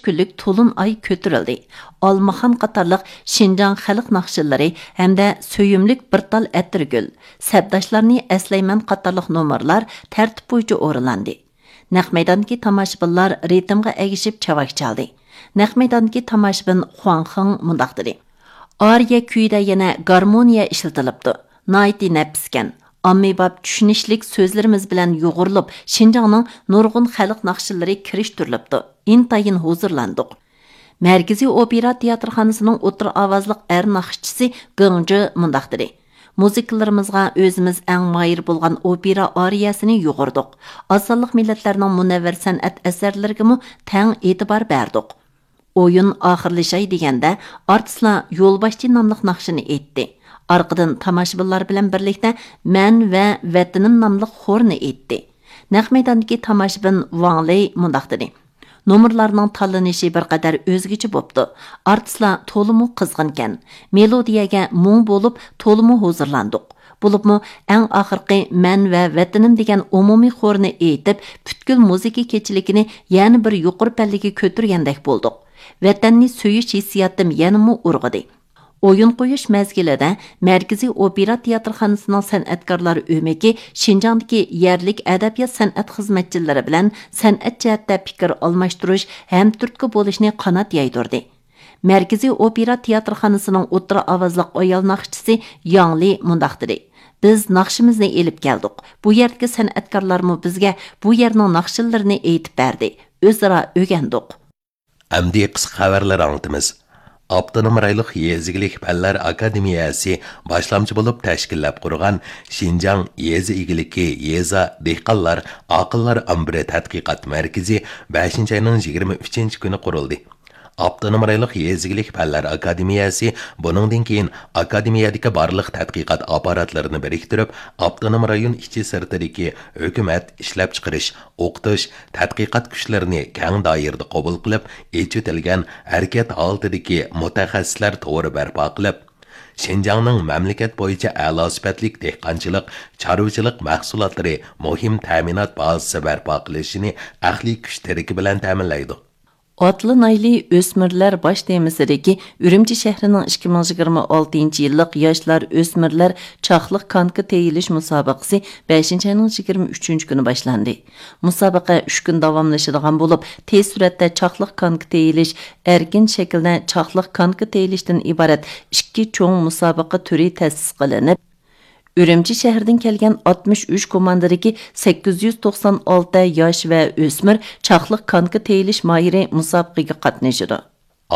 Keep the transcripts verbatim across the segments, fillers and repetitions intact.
كۈنلۈك تولۇن ئاي كۆتۈرۈلدى. ئالمىخان قاتارلىق شىنجاڭ خەلق ناخشىلىرى ھەمدە سۆيۈملۈك بىر تال ئەتىرگۈل، سەپداشلارنى ئەسلەيمەن قاتارلىق نومۇرلار تەرتىپ بويىچە ئورۇنلاندى. نەق مەيداندىكى تاماشىبىنلار رىتىمغا ئەگىشىپ چاۋاك چالدى. نەق مەيداندىكى تاماشىبىن خۇاڭ خېڭ مۇنداق دېدى: «ئارىيە كۈيىدە يەنە گارمونىيە ئىشلىتىلىپتۇ. ناھايىتى نەپىسكەن. ئاممىباب چۈشىنىشلىك سۆزلىرىمىز بىلەن يۇغۇرۇلۇپ، شىنجاڭنىڭ نۇرغۇن خەلق ناخشىلىرى كىرىشتۈرۈلۈپتۇ. ئىنتايىن ھۇزۇرلاندۇق.» مەركىزىي ئوپېرا تىياتىرخانىسىنىڭ ئوتتۇرا ئاۋازلىق ئەر ناخشىچىسى گېڭ جې مۇنداق دېدى: «مۇزىكىلىرىمىزغا ئۆزىمىز ئەڭ ماھىر بولغان ئوپېرا ئارىيەسىنى يۇغۇردۇق. ئاز سانلىق مىللەتلەرنىڭ مۇنەۋۋەر سەنئەت ئەسەرلىرىگىمۇ تەڭ ئېتىبار بەردۇق.» ئويۇن ئاخىرلىشاي دېگەندە، ئارتىسلار يولباشچى ناملىق ناخشىنى ئېيتتى. ئارقىدىن تاماشىبىنلار بىلەن بىرلىكتە مەن ۋە ۋەتىنىم ناملىق خورنى ئېيتتى. نەق مەيداندىكى تاماشىبىن ۋاڭ لېي مۇنداق دېدى: «نومۇرلارنىڭ تاللىنىشى بىر قەدەر ئۆزگىچە بوپتۇ. ئارتىسلار تولىمۇ قىزغىنكەن. مېلودىيەگە مۇڭ بولۇپ، تولىمۇ ھۇزۇرلاندۇق. بولۇپمۇ ئەڭ ئاخىرقى مەن ۋە ۋەتىنىم دېگەن ئومۇمىي خورنى ئېيتىپ، پۈتكۈل مۇزىكا كېچىلىكىنى يەنە بىر يۇقىرى پەللىگە كۆتۈرگەندەك بولدۇق. ۋەتەننى سۆيۈش ھېسسىياتىم يەنىمۇ ئۇرغۇدى.» ئويۇن قويۇش مەزگىلىدە مەركىزىي ئوپېرا تىياتىرخانىسىنىڭ سەنئەتكارلار ئۆمىكى شىنجاڭدىكى يەرلىك ئەدەبىيات-سەنئەت خىزمەتچىلىرى بىلەن سەنئەت جەھەتتە پىكىر ئالماشتۇرۇش، ھەمتۈرتكە بولۇشنى قانات يايدۇردى. مەركىزىي ئوپېرا تىياتىرخانىسىنىڭ ئوتتۇرا ئاۋازلىق ئايال ناخشىچىسى ياڭ لى مۇنداق دېدى: «بىز ناخشىمىزنى ئېلىپ كەلدۇق. بۇ يەردىكى سەنئەتكارلارمۇ بىزگە بۇ يەرنىڭ ناخشىلىرىنى ئېيتىپ بەردى. ئۆزئارا ئۆگەندۇق.» ئەمدى قىسقا خەۋەرلەر ئاڭلىتىمىز. ئاپتونوم رايونلۇق يېزا ئىگىلىك پەنلەر ئاكادېمىيەسى باشلامچى بولۇپ تەشكىللەپ قۇرغان شىنجاڭ يېزا ئىگىلىكى يېزا دېھقانلار ئاقىللار ئامبىرى تەتقىقات مەركىزى بەشىنچى ئاينىڭ يىگىرمە ئۈچىنچى كۈنى قۇرۇلدى. ئاپتونوم رايونلۇق يېزا ئىگىلىك پەنلەر ئاكادېمىيەسى بۇنىڭدىن كېيىن ئاكادېمىيەدىكى بارلىق تەتقىقات ئاپپاراتلىرىنى بىرىكتۈرۈپ، ئاپتونوم رايون ئىچى سىرتىدىكى ھۆكۈمەت، ئىشلەپچىقىرىش، ئوقۇتۇش، تەتقىقات كۈچلىرىنى كەڭ دائىرىدە قوبۇل قىلىپ، ئېچىۋېتىلگەن ھەرىكەت ھالىتىدىكى مۇتەخەسسىسلەر تورى بەرپا قىلىپ، شىنجاڭنىڭ مەملىكەت بويىچە ئەلا سۈپەتلىك دېھقانچىلىق، چارۋىچىلىق مەھسۇلاتلىرى مۇھىم تەمىنات بازىسى بەرپا قىلىشىنى ئەقلىي كۈچ تىرىكى بىلەن تەمىنلەيدۇ. ئاتلىنايلى ئۆسمۈرلەر باش تېمىسىدىكى ئۈرۈمچى شەھىرىنىڭ ئىككى مىڭ يىگىرمە ئالتىنچى يىللىق ياشلار ئۆسمۈرلەر چاقلىق كانكا تېيىلىش مۇسابىقىسى بەشىنچى ئاينىڭ يىگىرمە ئۈچىنچى كۈنى باشلاندى. مۇسابىقە ئۈچ كۈن داۋاملىشىدىغان بولۇپ، تېز سۈرئەتتە چاقلىق كانكا تېيىلىش، ئەركىن شەكىلدە چاقلىق كانكا تېيىلىشتىن ئىبارەت ئىككى چوڭ مۇسابىقە تۈرى تەسىس قىلىنىپ، ئۈرۈمچى شەھىرىدىن كەلگەن ئاتمىش ئۈچ كوماندىدىكى سەككىز يۈز توقسان ئالتە ياش ۋە ئۆسمۈر چاقلىق كانكا تېيىلىش ماھىرى مۇسابىقىگە قاتنىشىدۇ.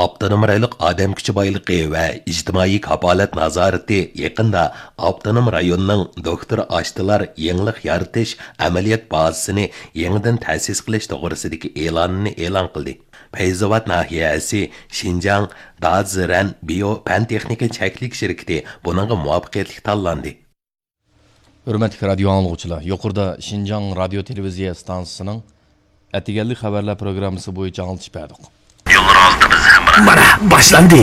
ئاپتونوم رايونلۇق ئادەم كۈچى بايلىقى ۋە ئىجتىمائىي كاپالەت نازارىتى يېقىندا ئاپتونوم رايوننىڭ دوكتور ئاشتىلار يېڭىلىق يارىتىش ئەمەلىيەت بازىسىنى يېڭىدىن تەسىس قىلىش توغرىسىدىكى ئېلانىنى ئېلان قىلدى. پەيزاۋات ناھىيەسى شىنجاڭ دازىرەن بىيو پەن تېخنىكا چەكلىك شىركىتى بۇنىڭغا مۇۋەپپەقىيەتلىك تاللاندى. ھۆرمەتلىك رادىيو ئاڭلىغۇچىلار، يۇقىرىدا شىنجاڭ رادىيو تېلېۋىزىيە ئىستانسىسىنىڭ ئەتىگەنلىك خەۋەرلەر پروگراممىسى بويىچە ئاڭلىتىش بەردۇق. يوللىرىڭىزدا بىز ھەمراھ. مانا، باشلاندى.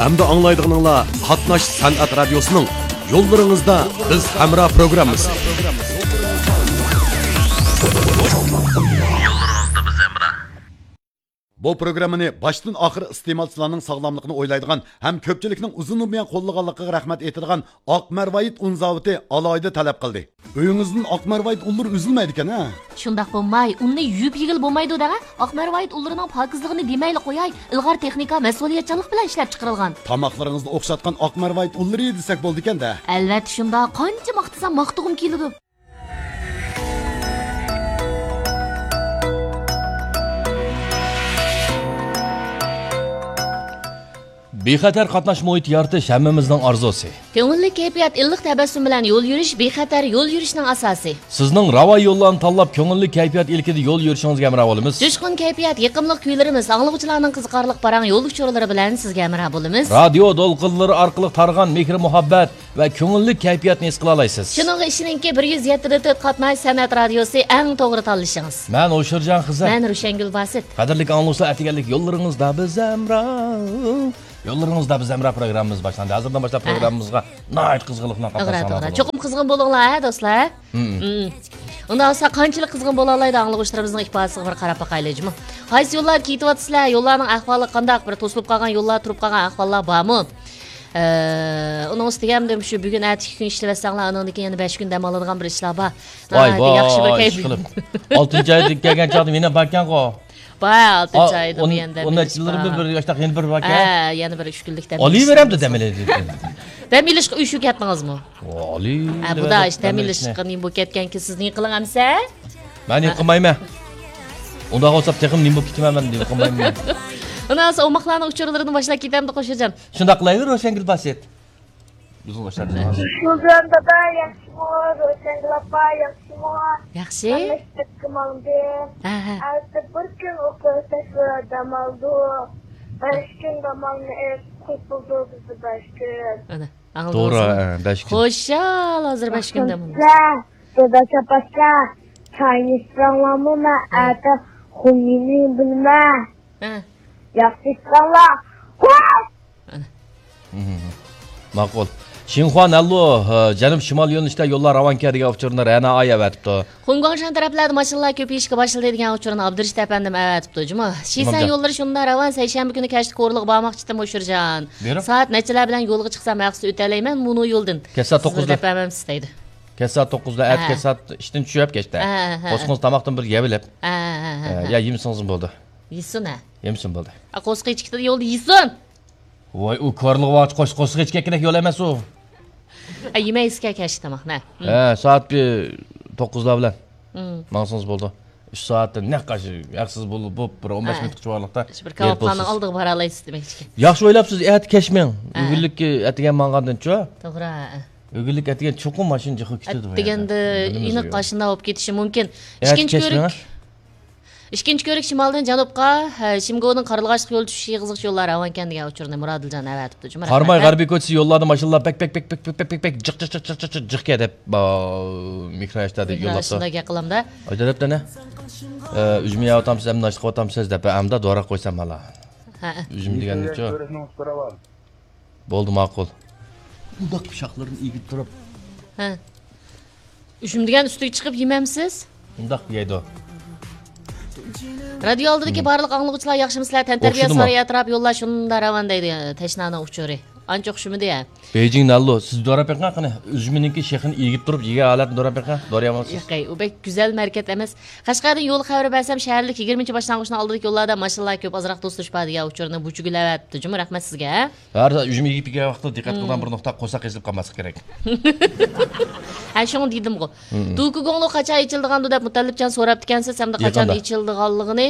ئەمدى ئاڭلايدىغىنىڭلار قاتناش سەنئەت رادىيوسىنىڭ يوللىرىڭىزدا بىز ھەمراھ پروگراممىسى. يوللىرىڭىزدا بىز ھەمراھ. بۇ پروگراممىنى باشتىن ئاخىر ئىستېمالچىلارنىڭ ساغلاملىقىنى ئويلايدىغان ھەم كۆپچىلىكنىڭ ئۇزۇندىن بۇيان قوللىغانلىقىغا رەھمەت ئېيتىدىغان ئاق مەرۋايىت ئۇن زاۋۇتى ئالاھىدە تەلەپ قىلدى. ئۆيىڭىزدىن ئاق مەرۋايىت ئۇنلىرى ئۈزۈلمەيدىكەن ھە؟ شۇنداق بولماي، ئۇننى يۇيۇپ يېگىلى بولمايدۇ دەڭە. ئاق مەرۋايىت ئۇنلىرىنىڭ پاكىزلىقىنى دېمەيلا قوياي، ئىلغار تېخنىكا، مەسئۇلىيەتچانلىق بىلەن ئىشلەپ چىقىرىلغان. تاماقلىرىڭىزدا ئوخشاتقان ئاق مەرۋايىت ئۇنلىرى دېسەك بولىدىكەن دە. ئەلۋەتتە شۇنداق، قانچە ماختىسام ماختىغۇم كېلىدۇ. بىخەتەر قاتناش مۇھىتى يارىتىش ھەممىمىزنىڭ ئارزۇسى. كۆڭۈللۈك كەيپىيات، ئىللىق تەبەسسۇم بىلەن يول يۈرۈش بىخەتەر يول يۈرۈشنىڭ ئاساسى. سىزنىڭ راۋان يوللارنى تاللاپ، كۆڭۈللۈك كەيپىيات ئىلكىدە يول يۈرۈشىڭىزگە ھەمراھ بولىمىز. جۇشقۇن كەيپىيات، يېقىملىق كۈيلىرىمىز، ئاڭلىغۇچىلارنىڭ قىزىقارلىق پاراڭ يول ئۇچۇرلىرى بىلەن سىزگە ھەمراھ بولىمىز. رادىيو دولقۇنلىرى ئارقىلىق تارىغان مېھىر-مۇھەببەت ۋە كۆڭۈللۈك كەيپىياتنى ھېس قىلالايسىز. شۇنىڭغا ئىشىنىڭكى، بىر يۈز يەتتە دە تۆت قاتناش سەنئەت رادىيوسى ئەڭ توغرا تاللىشىڭىز. مەن ھوشۇرجان خىزىر. مەن روشەنگۈل باسىت. قەدىرلىك ئاڭلىغۇچىلار، ئەتىگەنلىك يوللىرىڭىزدا بىز ھەمراھ. يوللىرىڭىزدا بىز ھەمراھ پروگراممىمىز باشلاندى. ھازىردىن باشلاپ ھە. پروگراممىمىزغا ناھايىتى قىزغىنلىق بىلەن توغرا، قاتناشساڭلار توغرا. بولىدۇ. چوقۇم قىزغىن بولۇڭلار، ھە، دوستلار؟ مم. مم. ئۇنداق بولسا قانچىلىك قىزغىن بولالايدۇ، ئاڭلىغۇچىلىرىمىزنىڭ ئىپادىسىگە بىر قاراپ باقايلى، جۇمۇ. قايسى يوللاردا كېتىۋاتىسىلەر؟ يوللارنىڭ ئەھۋالى قانداق؟ بىر توسۇلۇپ قالغان يوللار، تۇرۇپ قالغان ئەھۋاللار بارمۇ؟ ئە، ئۇنىڭ ئۈستىگە ھەمدە شۇ بۈگۈن، ئەتە ئىككى كۈن ئىشلىۋەتسەڭلار، ئۇنىڭدىن كېيىن يەنە بەش كۈن دەم ئالىدىغان بىر ئىشلار بار. ۋاي، ناھايىتى ياخشى بىر ۋاي، كەيپ. ئىشقىلىپ. ئالتىنچى ئايدىن كەلگەن چاغدا يەنە باركەنغۇ. بار، ئالتىنچى ئايدا ئون، يەنە دەم ئون ئېلىش نەچچە يىلدىن بار. بىر، بىر ياشتاق يەنە بىر باركەن. ھە، يەنە بىر ئۈچ كۈنلۈك دەم ئېلىش ئولىۋېرەمدۇ دەم ئېلىش. دەم ئېلىشقا ئۆچۈپ كەتتىڭىزمۇ؟ ھە، بۇدا ئىش دەم ئېلىشقا نېمە بولۇپ كەتكەنكى سىز نېمە قىلىڭ ئەمسە؟ مەن نېمە قىلمايمەن. ئۇنداق بولسا تېخىمۇ نېمە بولۇپ كېتىمەن مەن، نېمە قىلمايمەن. ئۇنىڭ ئوماقلارنىڭ ئۇچۇرلىرىدىن باشلاپ كېتەمدۇ قوشۇجان؟ شۇنداق قىلايلى، روشەنگۈل باسىت. بىزنىڭ ئوشۇق. شۇلجان دادا ياخشىمۇ؟ روشەنگۈل ئاپا ياخشىمۇ؟ ياخشى. ھەممىسى سىرتقا ماڭدى. ھە، ھە. ئەتە بىر كۈن ئوقۇغا تاشلاپ دەم ئالدۇق. بەش كۈن دەم ئالماي قۇتۇلدى بىزدە بەش كۈن. ئانا، ئاڭلىدىڭىزمۇ؟ توغرا، ھە، بەش كۈن. خۇشال ھازىر بەش كۈن دەم ئالدۇق. دادا چاپاسلار، چاينى ئىچسەڭلارمۇ مەن ھە. ئەتە خۇمىنى بىلمەن. ھە. ياخشى ئىچسەڭلار. ھە. ئانا. مم. ماقۇل. شىنخۇا نەنلۇ، ھە، جەنۇب شىمال يۆنىلىشتە يوللار راۋانكەن دېگەن ئۇچۇرنى رەنا ئاي ئەۋەتىپتۇ. خۇڭگۇاڭشەن تەرەپلەردە ماشىنىلار كۆپىيىشكە باشلىدى دېگەن ئۇچۇرنى ئابدۇرېشىت ئەپەندىم ئەۋەتىپتۇ. جۇمۇ. شىسەن ئىمامجان. يوللىرى شۇنداق راۋان، سەيشەنبە كۈنى كەچلىك كورلىغا بارماقچىدىم، ئۇچۇرجان. بېرىپ؟ سائەت نەچچىلەر بىلەن يولغا چىقسام، ھەقسىز ئۆتەلەيمەن مۇنۇ يولدىن. كەچ سائەت توققۇزدا. سىزنى دەپ بەرمەمسىز دەيدۇ. كەچ سائەت توققۇزدا، ئەتە ھە. كەچ سائەت ئىشتىن چۈشۈپ كەچتە. ھە، ھە، ھە. قورسىقىڭىز تاماقتىن بىر يەۋېلىپ. ھە، ھە، ھە، ھە، ھە. يا يېمىسىڭىزمۇ بولدى. يېسۇن، ھە. يېمىسۇن بولدى. ئا، قورسىقى ئېچىكتە يولدا يېسۇن. ۋاي، ئۇ كورلىغا بارغاچ قورس-، قورسىقى ئېچىككە كېرەك يول ئەمەس ئۇ. ئە، يېمەيسىكەن كەچلىك تاماقنى. ھە. ھە، سائەت بىر توققۇزلار بىلەن مم. ماڭسىڭىز بولىدۇ. ئۈچ سائەتتىن نەق قاش-، ھەقسىز بولۇپ، بولۇپ، بىر ئون بەش ھە. مىنۇتلۇق چۇۋارلىقتا شۇ بىر يېتىپ كاۋاپخانىنىڭ بولىسىز. ئالدىغا بارالايسىز دېمەكچىكەن. ياخشى ئويلاپسىز، ئەتە كەچ مېڭىڭ. ھە. ئۆگۈنلۈك ئەتىگەن ماڭغاندىن چۇ؟ توغرا، ھە. ئۆگۈنلۈك ئەتىگەن چوقۇم ماشىنا جىققا كېتىدۇ. ئەتىگەندە ئېنىق قاشۇنداق بولۇپ كېتىشى مۇمكىن. ئەتە ئىككىنچى كەچ كۆرۈك. مېڭىڭ. ئىككىنچى كۆرۈك شىمالدىن جەنۇبقا، ھە، شىمگونىڭ قارلىغاچلىق يولى چۈشۈش ئېغىزغىچە يوللار راۋانكەن دېگەن ئۇچۇرنى مۇرادىلجان ئەۋەتىپتۇ. جۇمۇ، قاراماي رەھمەت، ھە. غەربىي كوچىسى يوللاردا ماشىنىلار بەك، بەك، بەك، بەك، جىق، جىق، جىق، جىق، جىق دەپ، با-، مىكرو ئاشتادا مىكرو يوللاپتۇ. ئاشتادا گەپ قىلامدا. ئايدەپ دەنە. ئە، ئۈجمە يەۋاتامسىز، ئەمدى ناشتا قىلىۋاتامسىز دەپ، ئەمدى دورا قويسام ھالا. ھە. ئۈجمە دېگەننىچۇ؟ بولدى، ماقۇل. ئۇنداق پىشاقلىرىنى ئېگىپ تۇرۇپ. ھە. ئۈجمە دېگەن ئۈستىگە چىقىپ يېمەمسىز؟ ئۇنداق يەيدۇ. رادىيو ئالدىدىكى مم. بارلىق ئاڭلىغۇچىلار ياخشىمۇسىلەر؟ تەنتەربىيە ئوخشىدىمۇ؟ سارىيى ئەتراپى يوللار شۇنداق راۋان دەيدۇ، تەشنانىڭ ئۇچۇرى. ئانچە ئوخشىمىدى يا. بېيجىڭ نەنلۇ، سىز دوراپ بېقىڭ قېنى، ئۈجمىنىڭكى شېخىنى ئېگىپ تۇرۇپ يېگەن ھالەتنى دوراپ بېقىڭ، دورىيالمامسىز؟ ياق، ئۇ بەك گۈزەل ھەرىكەت ئەمەس. قەشقەردىن يول خەۋىرى بەرسەم، شەھەرلىك يىگىرمىنچى باشلانغۇچنىڭ ئالدىدىكى يوللاردا ماشىنىلار كۆپ، ئازراق توسۇلۇش بار دېگەن ئۇچۇرنى بۇچىگۈل ئەۋەتىپتۇ. جۇمۇ، رەھمەت سىزگە. ھەر ئۈجمە يېگەن ۋاقىتتا دىققەت قىلىدىغان مم. بىر نۇقتا، قورساق قېزىپ قالماسلىق كېرەك. ھە، شۇڭا دېدىمغۇ. مم. دوكۇگوڭلۇ قاچان ئېچىلىدىغاندۇ دەپ مۇتەللىپجان سوراپتىكەنسىز، ھەمدە قاچان يېقىندا. ئېچىلىدىغانلىقىنى.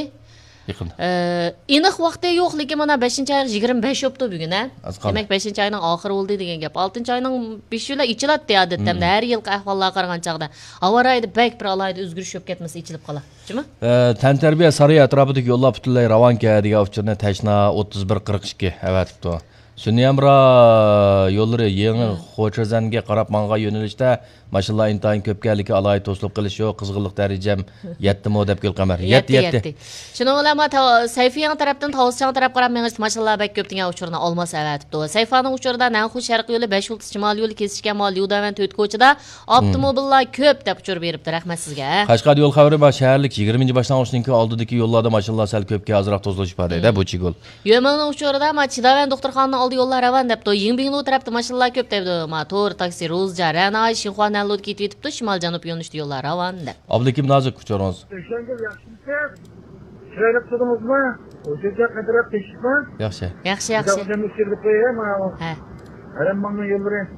يېقىندا. ئە، ئېنىق ۋاقتى يوق، لېكىن مانا بەشىنچى ئاينىڭ يىگىرمە بەشى بوپتۇ بۈگۈن، ھە؟ ئاز قالدى. دېمەك، بەشىنچى ئاينىڭ ئاخىرى بولدى دېگەن گەپ. ئالتىنچى ئاينىڭ بېشى بىلەن ئېچىلاتتى، ئادەتتە، مم. ھەر يىلقى ئەھۋاللارغا قارىغان چاغدا. ھاۋا رايىدا بەك بىر ئالاھىدە ئۆزگىرىش بولۇپ كەتمىسە، ئېچىلىپ قالا. جۇمۇ؟ ئە، تەنتەربىيە سارىيى ئەتراپىدىكى يوللار پۈتۈنلەي راۋانكەن دېگەن ئۇچۇرنى تەشنا ئوتتۇز بىر قىرىق ئىككى ئەۋەتىپتۇ. سۈنئىي ھەمراھ يوللىرى يېڭى مم. خوچېزەنگە قاراپ ماڭغان يۆنىلىشتە ماشىنىلار ئىنتايىن كۆپكەن، لېكىن ئالاھىدە توسۇلۇپ قېلىش يوق. قىزغىنلىق دەرىجەم يەتتىمۇ دەپ گۈلقەمەر. يەتتى، يەتتى، يەتتى. يەتتى. شۇنىڭ بىلەن ما تا-، سەيفىياڭ تەرەپتىن تاۋۇزچاڭ تەرەپ قاراپ مېڭىشتا ماشىنىلار بەك كۆپ دېگەن ئۇچۇرنى ئالماس ئەۋەتىپتۇ. سەيفانىڭ ئۇچۇرىدا نەنخۇ شەرقىي يولى، بەش يۇلتۇز شىمالىي يولى كېسىشكەن ماۋۇ ليۇداۋەن تۆت كوچىدا ئاپتوموبىللار كۆپ دەپ ئۇچۇر بېرىپتۇ. رەھمەت سىزگە. قەشقەر يول خەۋىرى، ما شەھەرلىك يىگىرمىنچى باشلانغۇچنىڭكى ئالدىدىكى يوللاردا ماشىنىلار سەل كۆپكەن، ئازراق توسۇلۇش بار دەيدۇ، مم. بۇ چىگۇل. يۆمىنىڭ ئۇچۇرىدا، ما چىداۋەن دوختۇرخانىنىڭ ئالدى يوللار راۋان دەپتۇ. يىڭبىڭلۇ تەرەپتە ماشىنىلار كۆپ دەيدۇ. ما تور تاكسى، روزجا، رەناي، شىنخۇا نەنلۇدا كېتىۋېتىپتۇ، شىمال جەنۇب يۆنىلىشتە يوللار راۋان دەپ. ئابلىكىم نازۇك، ئۇچۇرىڭىز. ئۆشەڭگۈل ياخشىمۇسىز؟ چىرايلىق تۇردىڭىزمۇ؟ ھۇزۇرجان قەدىرلەپ تېشىپمۇ؟ ياخشى. ياخشى، ياخشى. ھە. ئەردەم باغنىڭ يوللىرى. ھە.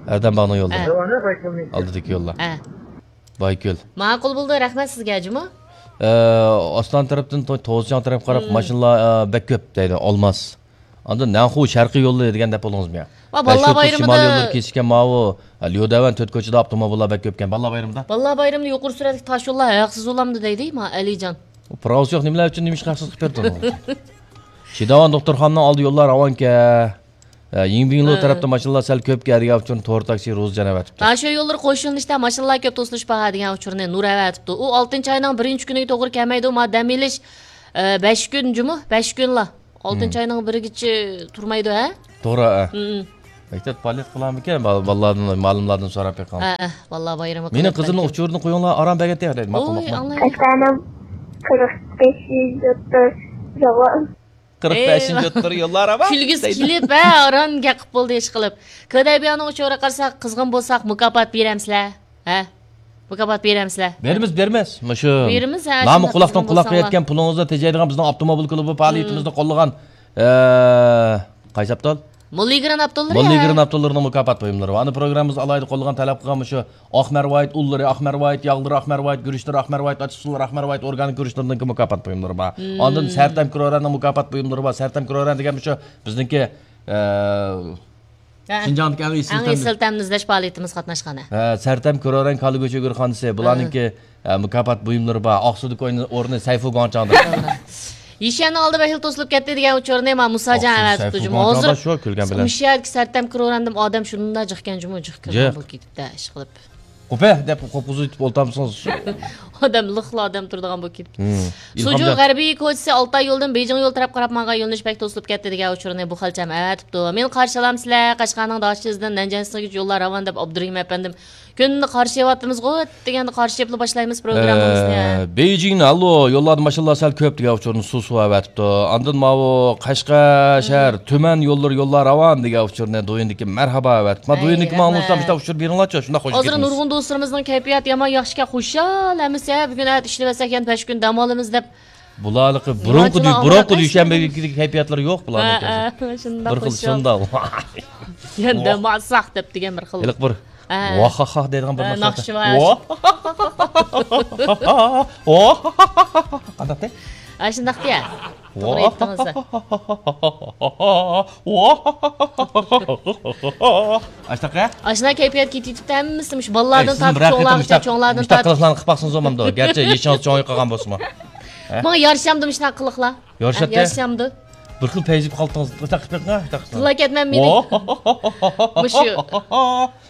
ئەردەم باغنىڭ يوللىرى. ھە. ئەردەم باغنىڭ يوللىرى. ھە. ئالدىدىكى يوللار. ھە. بايكۆل. ماقۇل بولدى، رەھمەت سىزگە، جۇمۇ. ئە، ئاستان تەرەپتىن تو-، توزچاڭ تەرەپكە قاراپ ماشىنىلار، ئە، بەك كۆپ دەيدۇ، ئالماس. ئاندىن نەنخۇ شەرقىي يولى دېگەن دەپ بولدىڭىزمۇ يا؟ ۋە بالىلار بايرىمىدا شىمال يوللىرى كېسىشكەن ماۋۇ، ليۇدەۋەن تۆت كوچىدا ئاپتوموبىللار بەك كۆپكەن. بالىلار بايرىمىدا؟ بالىلار بايرىمىدا يۇقىرى سۈرئەتلىك تاش يوللار ھەقسىز بولامدۇ دەيدۇ، ما ئەلىجان. ئۇ پىراۋىسى يوق نېمىلەر ئۈچۈن نېمىشقا ھەقسىز قىلىپ بېرىدۇ؟ چىداۋان دوختۇرخانىنىڭ ئالدى يوللار راۋانكەن. ھە، يىڭبىڭلۇ ھە. تەرەپتە ماشىنىلار سەل كۆپكەن دېگەن ئۈچۈن تور تاكسى روزىجان ئەۋەتىپتۇ. ھە، شۇ يوللىرى قوشۇلۇنۇشتا ماشىنىلار كۆپ توسۇلۇش بار دېگەن ئۇچۇرنى نۇر ئەۋەتىپتۇ. ئۇ ئالتىنچى ئاينىڭ بىرىنچى كۈنىگە توغرا كەلمەيدۇ، ما دەم ئېلىش، ئە، بەش كۈن جۇمۇ، بەش كۈنلا. ئالتىنچى ئاينىڭ بىرىگىچە تۇرمايدۇ، ھە؟ توغرا، ھە. مەكتەپ پائالىيەت قىلامىكەن؟ بال-، بالىلاردىن، مۇئەللىملاردىن سوراپ بېقىڭ. ھە، ھە، بالىلار بايرىمى. مېنىڭ قىزىمنىڭ ئۇچۇرىنى قويۇڭلار، ئاران بەگەت دەيدۇ. ماقۇل، ماقۇل. قەشقەرنىڭ قىرىق بەشىنچى يۇلتۇر يوللار. قىرىق بەشىنچى يۇلتۇر يوللار ئاۋا. كۈلگۈسى كېلىپ، ھە، ئاران گەپ قىلىپ بولدى ئىش قىلىپ. كۆدەيبىيانىڭ ئۇچۇرىغا قارىساق، قىزغىن بولساق، مۇكاپات بېرەمسىلەر؟ ھە؟ مۇكاپات بېرەمسىلەر؟ بېرىمىز، بېرىمىز. مۇشۇ بېرىمىز، ھە، نامى شۇنداق قۇلاقتىن قىزغىن قۇلاققا بولساڭلار. يەتكەن پۇلىڭىزنى تېجەيدىغان بىزنىڭ ئاپتوموبىل كۇلۇبى پائالىيىتىمىزدە قوللىغان، ئە، قايسى ئاپتول؟ موللىگران ئاپتوللىرى، موللىگران ئاپتوللىرىنىڭ مۇكاپات بۇيۇملىرى بار. ئانا پروگراممىمىز ئالاھىدە قوللىغان، تەلەپ قىلغان مۇشۇ ئاق مەرۋايىت ئۇنلىرى، ئاق مەرۋايىت ياغلىرى، ئاق مەرۋايىت گۈرۈچلىرى، ئاق مەرۋايىت ئاچچىقسۇلىرى، ئاق مەرۋايىت ئورگانىك گۈرۈچلىرىنىڭكى مۇكاپات بۇيۇملىرى بار. ئاندىن سەرتەم كروراننىڭ مۇكاپات بۇيۇملىرى بار. سەرتەم كروران دېگەن مۇشۇ بىزنىڭكى، ئە، ھە. شىنجاڭدىكى ئەڭ ئېسىل تەم. ئەڭ ئېسىل تەمنى ئىزدەش پائالىيىتىمىز قاتناشقان. ھە، سەرتەم كروران كالا گۆشى گۆرخانىسى. بۇلارنىڭكى، ھە، مۇكاپات بۇيۇملىرى بار. ئاقسۇدىكى ئورنى، ئورنى سەيفۇ گۇاڭچاڭدا. توغرا. يىشيەننىڭ ئالدى بەك خېلى توسۇلۇپ كەتتى دېگەن ئۇچۇرنى ما مۇساجان ئاقسۇدىكى ئەۋەتىپتۇ سەيفۇ جۇمۇ. گۇاڭچاڭدا ھازىر شۇ كۈلگەن بىلەن. ئۇ شەھەرگە سەرتەم كروران دېدىم، ئادەم شۇنداق جىقكەن جۇمۇ، جىق كىرگەن جىق. بولۇپ كېتىپتۇ ئىش قىلىپ. قوپە دەپ قوپقۇزۇۋېتىپ ئولتۇرامسىز؟ ئادەم لىقلا ئادەم تۇرىدىغان بولۇپ كېتىپتۇ. سۇجۇ غەربىي كوچىسى ئالتاي يولىدىن بېيجىڭ يولى تەرەپ قاراپ ماڭغان يۆنىلىش بەك توسۇلۇپ كەتتى دېگەن ئۇچۇرنى بۇ خەلچەم ئەۋەتىپتۇ. مېنى قارشى ئالامسىلەر؟ قەشقەرنىڭ داشىزىدىن نەنجىڭشىنغىچە يوللار راۋان دەپ ئابدۇرېھىم ئەپەندىم كۈندە قارشى ئېلىۋاتىمىزغۇ دېگەندە قارشى ئېلىپلا باشلايمىز پروگراممىمىزنى. ئە، بېيجىڭنى، ئاللو، يوللاردا ماشىنىلار سەل كۆپ دېگەن ئۇچۇرنى سۇسۇ ئەۋەتىپتۇ. ئاندىن ماۋۇ قەشقەر شەھەر، تۈمەن يوللىرى يوللار راۋان دېگەن ئۇچۇرنى دويىندىكى مەرھابا ئەۋەتىپتۇ. ما ئەي، دويىندىكى ماڭا رەھمەت. مۇشۇنداق ئۇچۇر بېرىڭلارچۇ، شۇنداق خوش ھازىر ئىكەنمىز. نۇرغۇن دوستلىرىمىزنىڭ كەيپىياتى يامان ياخشىكەن، خۇشال ھەممىسى، ھە، بۈگۈن ئەتە ئىشلىۋەتسەك يەنە بەش كۈن دەم ئالىمىز دەپ. بۇلارلىقى بۇرۇنقى دۇ-، بۇرۇنقى دۈشەنبىدىكى كەيپىياتلىرى يوق بۇلارنىڭكى. ھە، ھە، شۇنداق بىر خىل خۇشال. شۇنداق. يەنە دەم ئالساق دەپ دېگەن بىر خىل. ھېلىقى بىر ھە. ۋاھاھاھ دەيدىغان بىر ھە، ناخشا. ناخشا بار. ۋاھ. ۋاھ. قانداق دەي؟ ھە، شۇنداق دېيە. توغرا ۋاھ. ئېيتتىڭىز. ۋاھ. ئاشتاق ھە؟ ئاشۇنداق كەيپىيات كېتىۋېتىپتۇ ھەممىسى، مۇشۇ بالىلاردىن تارتىپ چوڭلارغىچە، چوڭلاردىن تارتىپ. مۇشتاق قىلىقلارنى قىلىپ باقسىڭىز بولمامدۇ؟ گەرچە يېشىڭىز چوڭىيىپ قالغان بولسىمۇ. ھە؟ ماڭا يارىشامدۇ مۇشۇنداق قىلىقلار؟ يارىشاتتى؟ ھە، يارىشامدۇ؟ بىر خىل پەيزىپ قالدىڭىز. ئاشتاق قىلىپ بېقىڭ، ئاشتاق قىلىپ. تىللا كەتمەن مېنى. ۋاھ. مۇشۇ.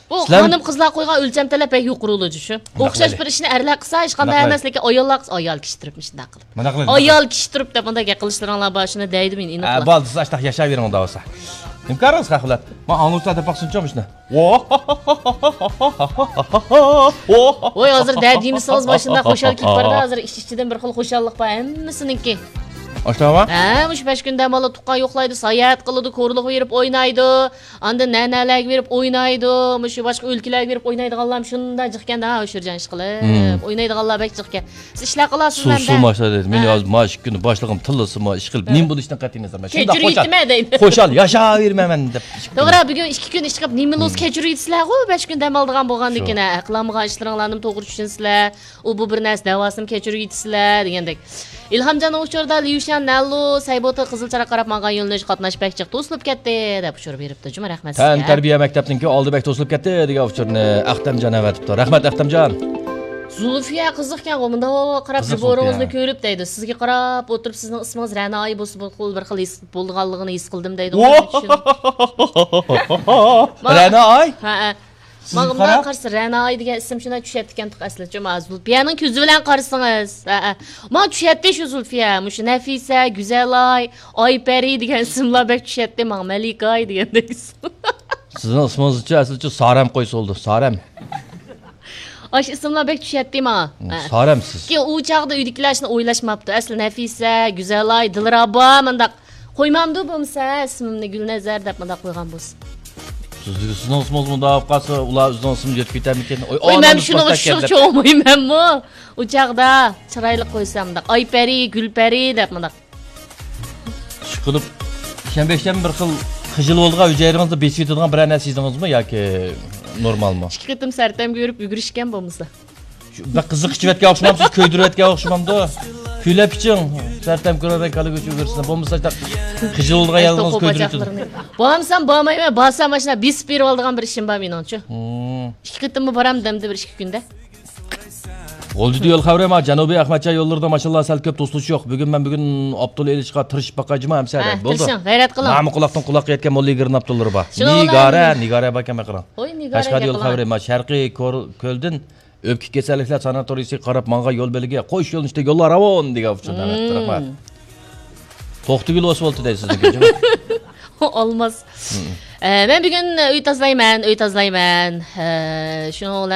بۇ سىلەر خانىم قىزلار قويغان ئۆلچەم تەلەپ بەك يۇقىرى بولىدۇ شۇ. ئوخشاش بىر ئىشنى ئەرلەر قىلسا، ھېچقانداق ئەمەس، لېكىن ئاياللار قىلسا، ئايال كىشى تۇرۇپ مۇشۇنداق قىلىپ. مۇنداق قىلىڭ. ئايال كىشى تۇرۇپ دەپ مۇنداق گەپ قىلىشلىرىڭلار بار، شۇنى دەيدۇ مېنى ئېنىقلا. ئە، بولدى، سىز ئاشتاق ياشاۋېرىڭ ئۇنداق بولسا. نېمە كارىڭىز قاقىلات؟ ما ئاڭلىسا دەپ باقسۇنچۇ مۇشۇنى. ۋاھ. ۋاي، ھازىر دە دېمىسىڭىز، ماشىنىدا خۇشال كېلىپ بارىدۇ، ھازىر ئىچ-ئىچىدىن بىر خىل خۇشاللىق بار ھەممىسىنىڭكى. ئاشتاقمۇ؟ ھە، مۇشۇ بەش كۈن دەم ئالىدۇ، تۇغقان يوقلايدۇ، ساياھەت قىلىدۇ، كورلۇققا بېرىپ ئوينايدۇ. ئاندىن نەنەلەرگە بېرىپ ئوينايدۇ، مۇشۇ باشقا ئۆلكىلەرگە بېرىپ ئوينايدىغانلارمۇ شۇنداق جىقكەن-دە، ئۇشۇرجان ئىشقىلىپ. ئوينايدىغانلار بەك جىقكەن. سىز ئىشلەر قىلاسىزمۇ ئەمدى؟ سۇ ماشىنا دەيدۇ. مېنى ھە. ھازىر مانا ئىككى كۈندە باشلىقىم تىللىسىمۇ، ئىشقىلىپ، ھە. نېمە بولۇشىدىن قەتئىي نەزەر. مەن شۇنداق خۇشال، كەچۈرۈۋېتىمەن دەيدۇ. خۇشال ياشاۋېرىمەن مەن دەپ. توغرا، بۈگۈن ئىككى كۈن ئىشقىلىپ نېمە بولسا كەچۈرۈۋېتىسىلەرغۇ، بەش كۈن دەم ئالىدىغان بولغاندىن كېيىن، ھە، قىلالمىغان ئىشلىرىڭلارنىمۇ توغرا چۈشىنىسىلەر. ئۇ بۇ بىر نەرسە دەۋاسىنى كەچۈرۈۋېتىسىلەر دېگەندەك. ئىلھامجاننىڭ ئۇچۇرىدا ليۇشيان نەنلۇ سەيبوتا قىزىل چىراغ قاراپ ماڭغان يۆنىلىش قاتناش بەك جىق توسۇلۇپ كەتتى دەپ ئۇچۇر بېرىپتۇ جۇمۇ، رەھمەت سىزگە. تەنتەربىيە مەكتەپنىڭكى ئالدى بەك توسۇلۇپ كەتتى دېگەن ئۇچۇرنى ئەختەمجان ئەۋەتىپتۇ. رەھمەت ئەختەمجان. زۇلفىيە قىزىقكەنغۇ، مۇنداق قاراپ زۇلپىيە. بىبورىڭىزنى كۆرۈپ دەيدۇ. سىزگە قاراپ ئولتۇرۇپ سىزنىڭ ئىسمىڭىز رەنا ئاي بولسا بىر خىل، بىر خىل ھېس بولىدىغانلىقىنى ھېس قىلدىم دەيدۇ. رەنا ئاي؟ ھە، ھە. ماڭا مۇنداق قارىسا، رەناي دېگەن ئىسىم شۇنداق چۈشەتتىكەنتۇق ئەسلى. شۇ ما زۇلپىيەنىڭ كۆزى بىلەن قارىسىڭىز. ھە، ھە. ماڭا چۈشەتتى شۇ زۇلپىيە. مۇشۇ نەفىسە، گۈزەلاي، ئايپەرى دېگەن ئىسىملار بەك چۈشەتتى ماڭا. مەلىكاي دېگەندەك ئىسىم. سىزنىڭ ئىسمىڭىزچە ئەسلىچە سارەم قويسا بولىدۇ. سارەم. ئاشۇ ئىسىملار بەك چۈشەتتى ماڭا. ھە. سارەم سىز. كېيىن ئۇ چاغدا ئۆيدىكىلەر شۇنى ئويلاشماپتۇ. ئەسلى نەفىسە، گۈزەلاي، دىلرابا مۇنداق. قويمامدۇ بولمىسا ئىسمىمنى گۈلنەزەر دەپ مۇنداق قويغان بولسا. سىز، سىزنىڭ ئىسمىڭىز مۇنداق بولۇپ قالسا، ئۇلار ئۆزىنىڭ ئىسمىنى يۆتكىۋېتەرمىكىن؟ ئوي، ئوي، مەن شۇنىڭ ئۈچۈن چوڭ ئويمەنمۇ؟ ئۇ چاغدا چىرايلىق قويسام مۇنداق، ئايپەرى، گۈلپەرى دەپ مۇنداق. ئىشقىلىپ، شەنبە يەكشەنبە بىر خىل خىجىل بولىدىغان، ھۈجەيرىڭىزدە بېسىۋېتىدىغان بىرەر نەرسە يېدىڭىزمۇ ياكى نورمالمۇ؟ ئىككى قېتىم سەرتەمگە يۈرۈپ يۈگۈرۈشكەن بولمىسا. شۇ بەك قىزىق ئىچىۋەتكەن ئوخشىمامسىز؟ كۆيدۈرۈۋەتكەن ئوخشىمامدۇ؟ كۈيلەپ ئىچىڭ. سەرتەم كۆرەرەك كالا گۆشى ئۆگرىسىنە. بولمىسا خىجىل بولىدىغان يالغۇز كۆيدۈرۈۋېتىدۇ. بارمىسام بارمايمەن، بارسام ماشىنا بېسىپ بېرىۋالىدىغان بىر ئىشىم بار مېنىڭچۇ. ھىم. ئىككى قېتىممۇ بارام دەمدە بىر ئىككى كۈندە. غۇلجىدا يول خەۋىرى ما، جەنۇبىي ئەخمەتجان يوللىرىدا ماشىنىلار سەل كۆپ توسۇلۇش يوق. بۈگۈن مەن بۈگۈن ئاپتول ئېلىشقا تىرىشىپ باقاي جۇمۇ ئەمسە دەپ. بولدى. تىرىشىڭ، غەيرەت قىلىڭ. مانا قۇلاقتىن قۇلاققا يەتكەن موللا يىگىرمە ئاپتوللىرى بار. نىگارە، نىگارە باركەن بېقىڭ. قەشقەر يول خەۋىرى ما، شەرقىي كۆلدىن ئۆپكە كېسەللىكلەر ساناتورىيىسىغا قاراپ ماڭغان يول بۆلىكى، قوش يۆنىلىشتە يوللار راۋان دېگەن ئۇچۇر. رەھمەت. توختىگۈل ئوسۋالتى دەيسىز، نېمە؟ ئالماس. ئە، مەن بۈگۈن ئۆي تازىلايمەن، ئۆي تازىلايمەن. ئە، شۇنىڭ بىلەن